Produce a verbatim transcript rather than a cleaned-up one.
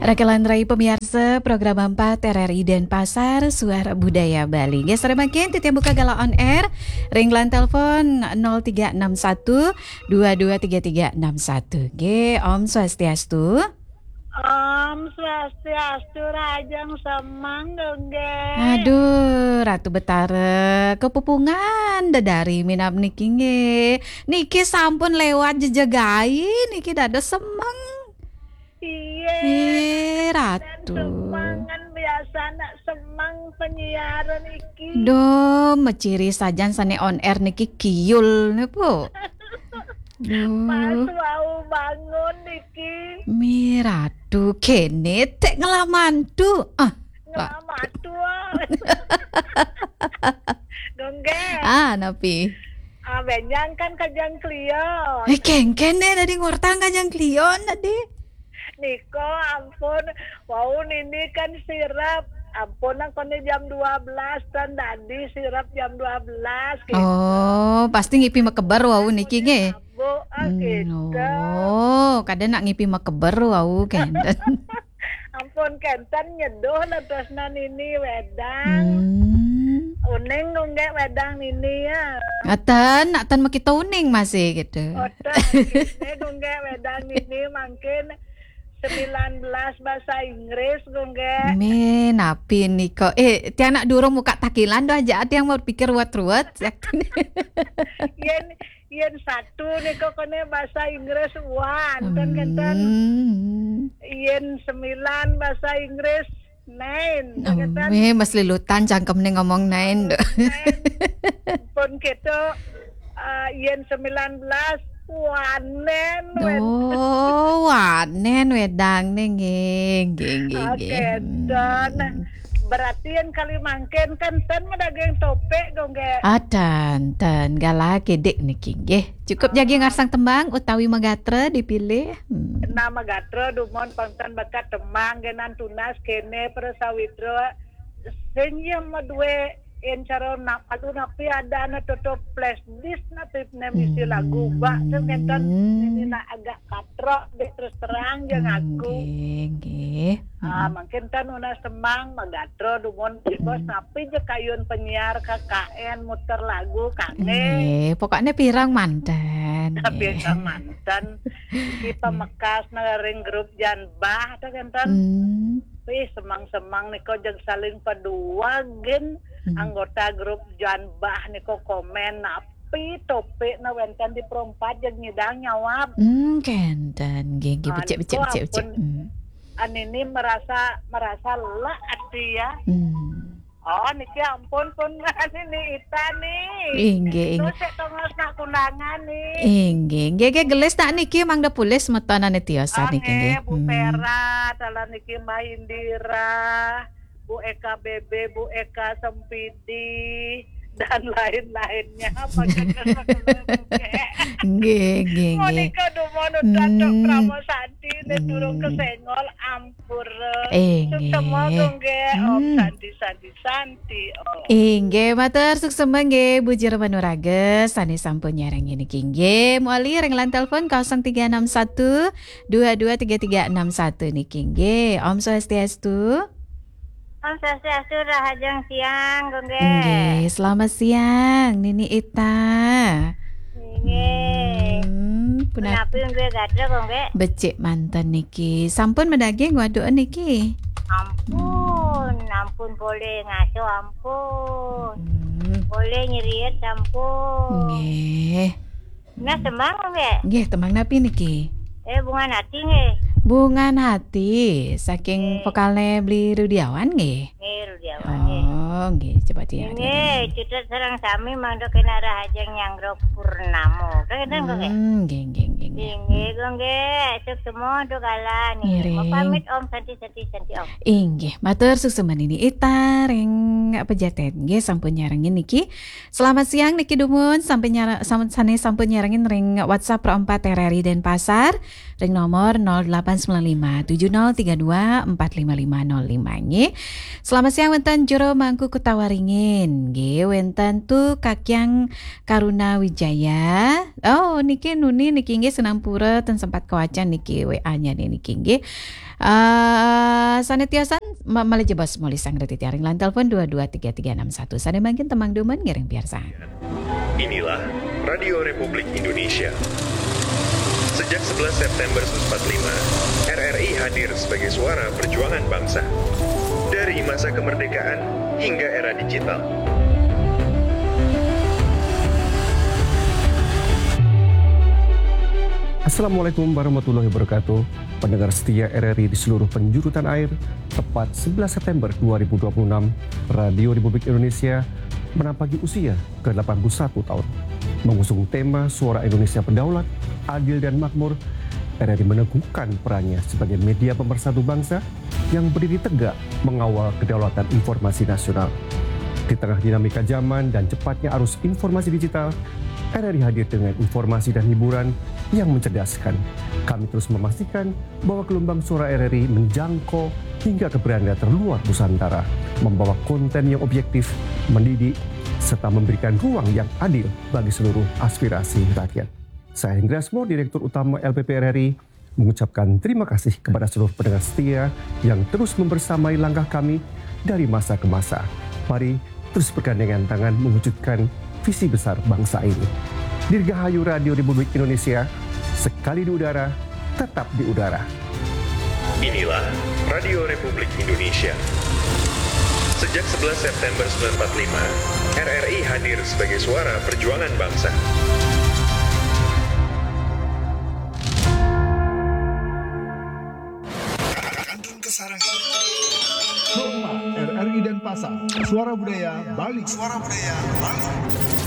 Oke, lan rai pamiarsa program empat R R I Denpasar, Suara Budaya Bali. Nggih, sareng mangkin titiang buka galah on air ring line telepon nol tiga enam satu dua dua tiga tiga enam satu. Nggih, Om Swastiastu. Om Swastiastu, rahajeng semeng, nggih. Aduh, Ratu Betara, kapupungan dedari minab niki nggih. Niki sampun lewat jejegai, niki dados semeng. Iya. Eh, Ratu. Semeng kan biasane semeng penyiaran iki. Duh, maciri sajan sane on air niki kiyul niku. Duh. Pas wau bangun niki. Mi Ratu kene tek nglamantu. Ah, nglamantu. Nggih. Ah, napi? Ah, benjang kan kajeng klion. Eh, kengken deh, tadi ngortang kajeng klion tadi. Nika ampun, wau nini kan sirep. Ampun, nang kone jam dua belas, tan dadi sirep jam dua belas, gitu. Oh, pasti ngipi makeber wau niki, nggih? Bu, ah, Hmm, gitu. Oh, kada nak ngipi makeber wau, kenten. Ampun, kenten nyeduh lah tresnan nini wedang. Hmm. Uning nggih wedang nini ya. Atan, atan makita uning masih gitu. Oten, nggih nggih wedang nini mangkin sembilan belas bahasa Inggris, nggih. Mi, napi nika? Eh, tiang nak durung muka takilan doh aja, tiang mau pikir ruwet-ruwet. Yen, yen satu nika kene bahasa Inggris one, kan kenten. Hmm. Yen sembilan bahasa Inggris nine, Oh, kan kenten. Eh, mas lilutan cangkem nih ngomong nine, doh. Nine. Pun gitu, eh, yen sembilan belas, wanen, wed- Oh, wanen wedang nih, nggih, nggih, nggih, Oke, nggih. Dan Hmm. berarti yang kali mangkin kan ten medaging topik, nggih. Ah, ten, ten, galah kidik niki, nggih. Cukup jagi ngarsang tembang utawi magatra dipilih. Hmm. Nah, magatra dumun pangtan bakat tembang, nggih, nan tunas kene para sawitra. Sing ya madue en cara nak palu napi ada na toto flash disk napi ne misi lagu bak tu ngenten Hmm. ini nak agak katrok deh terus terang je ngaku. Nggih, nggih. Ah, Hmm. mungkin tan una semang magatra dumun bos Hmm. napi je kayun penyiar K K N muter lagu kane. Nggih, pokoknya pirang manten. Tapi Nggih. Kan manten. Iki Hmm. pemekas na ring grup Janbah tu kan tan. Hmm. Wih, semang-semang nika jeg saling paduagen Hmm. anggota grup Janbah nika komen napi topik na wenten di perempat jeg nyidang nyawab. Hmm, kenten. Nggih, nggih, Ah, becik, becik, nika becik, becik. Ampun. Hmm. Anini merasa, merasa lelah ati ya. Hmm. Oh, niki ampun pun nini Ita nih. Inggih, inggih. Terus sik tongos nak kundangan nih. Inggih, inggih, inggih, gelis tak niki mangda pulis metonane tiosan Ah, niki nggih. Nggih, Bu Hmm. Pera, dalan niki Mbak Indira, Bu Eka B B, Bu Eka Sempidi, dan lain-lainnya. Apa kata Nggih, nggih, nggih. Monika dumun udah tok Hmm. Pramo Santi, nek durung Hmm. kesengol, ampura. Eh, Suksema nggih. Nggih, Om Hmm. Santi, Santi, Santi, Om. Inggih, matur suksema nggih, Bu Jero Manuraga, sane sampun nyarengin niki nggih. Moli ring line telepon kosong tiga enam satu dua dua tiga tiga enam satu niki nggih. Om Swastiastu. Om Swastiastu, rahajeng siang, nggih. Nggih, selamat siang, Nini Ita. Nggih. Hmm, punat- Punapi nggih gatra, nggih. Becik manten niki. Sampun medaging waduh niki. Ampun, ampun boleh ngaso, ampun. Hmm. Boleh nyeriet, ampun. Nggih. Nah, tembang, nggih. Nggih, tembang napi niki? Eh, Bungan Hati, nggih. Bungan Hati, saking Nggih. Vokalnya Bli Rudiawan, nggih. Nggih, Rudiawan, nggih. Oh, nggih, coba tiang. Nggih, cutet sareng sami mangda kena rahajeng nyanggra purnama. Kan kenten, nggih? Hmm, nggih, nggih, nggih, nggih. Nggih, nggih, nggih. Suksema, duh galah, nggih. Ngiring. Mau pamit, Om, Santi, Santi, Santi, Om. Inggih, matur suksema Nini Ita ring Pejaten. Nggih, sampun nyarengin niki. Selamat siang niki dumun, sampun nyara-, sampun sane sampun nyarengin ring WhatsApp Pro empat R R I Denpasar. ring nomor nol delapan sembilan lima tujuh nol tiga dua empat lima lima nol lima nggih. Selamat siang wénten Jero Mangku Kutawaringin. Nggih, wénten Tu Kakyang Karuna Wijaya. Oh, niki nuni niki nggih sinampura ten sempat kawacan niki W A-nya niki nggih. Eh, sané tiosan ma- malih jebos muli sang reti tiaring lan telepon dua dua tiga tiga enam satu. Sané mangkin tembang dumun ngiring piarsang. Inilah Radio Republik Indonesia. Sejak sebelas September seribu sembilan ratus empat puluh lima, R R I hadir sebagai suara perjuangan bangsa. Dari masa kemerdekaan hingga era digital. Assalamualaikum warahmatullahi wabarakatuh. Pendengar setia R R I di seluruh penjuru tanah air, tepat sebelas September dua ribu dua puluh enam, Radio Republik Indonesia menampaki usia ke delapan puluh satu tahun. Mengusung tema Suara Indonesia Berdaulat, Adil dan Makmur, R R I meneguhkan perannya sebagai media pemersatu bangsa yang berdiri tegak mengawal kedaulatan informasi nasional. Di tengah dinamika zaman dan cepatnya arus informasi digital, R R I hadir dengan informasi dan hiburan yang mencerdaskan. Kami terus memastikan bahwa gelombang suara R R I menjangkau hingga ke beranda terluar Nusantara, membawa konten yang objektif, mendidik, serta memberikan ruang yang adil bagi seluruh aspirasi rakyat. Saya Hendra Asmor, Direktur Utama L P P R R I, mengucapkan terima kasih kepada seluruh pendengar setia yang terus membersamai langkah kami dari masa ke masa. Mari terus bergandengan tangan mewujudkan visi besar bangsa ini. Dirgahayu Radio Republik Indonesia, sekali di udara, tetap di udara. Inilah Radio Republik Indonesia. Sejak sebelas September sembilan empat lima, R R I hadir sebagai suara perjuangan bangsa. Kantun Kesarangan. Homa, R R I Denpasar. Suara Budaya Bali. Suara Budaya Bali.